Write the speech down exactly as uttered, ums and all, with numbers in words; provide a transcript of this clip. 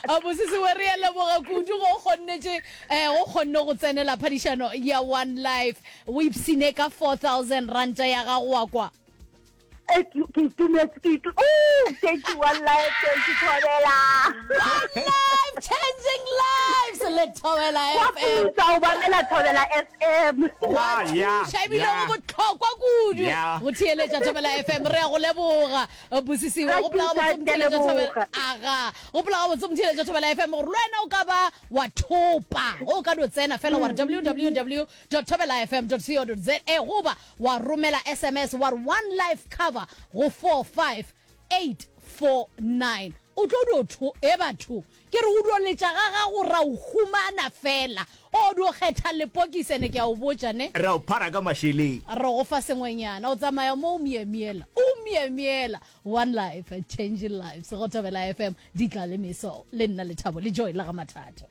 A Bosisiwe, re a leboga kudu go kgonnetše um go kgonne go tsenela phadišano ya One Life. O ipshine ka four thousand ranta ya gago wa kwa. Eh, ke ke itumetse ke itu oh thank you One Life, thank you Thobela. One Life changing lives le Thobela Wa F M. putsa o bamela Thobela F M. Wa Ah, yeah, thuša ebile yeah. go bohlokwa kudu Yeah. go theeletša Thobela F M. Re a go leboga Busisiwe. Ga Gopola ke gabotse sa, ke a motheeletša Thobela. leboga. Aga, gopola gabotse motheeletša Thobela F M gore le wena o ka ba wa thopa. Ge o ka no tsena fela wa re www dot thobela f m dot co dot za goba wa romela S M S wa re One Life Cover go four five eight four nine. O tlo dio tho, e batho, ke re o dio letša ga gago ra o humana fela. O dio kgetha lepokisi ene ke a o botša ne. Ra o phara ka mašeleng. Re go fa sengwenyana, o tsamaya mo o myemyela, o myemyela. One Life, changing lives, go Thobela F M, di tla le meso, le nna Lethabo le Joy la ga Mathatho.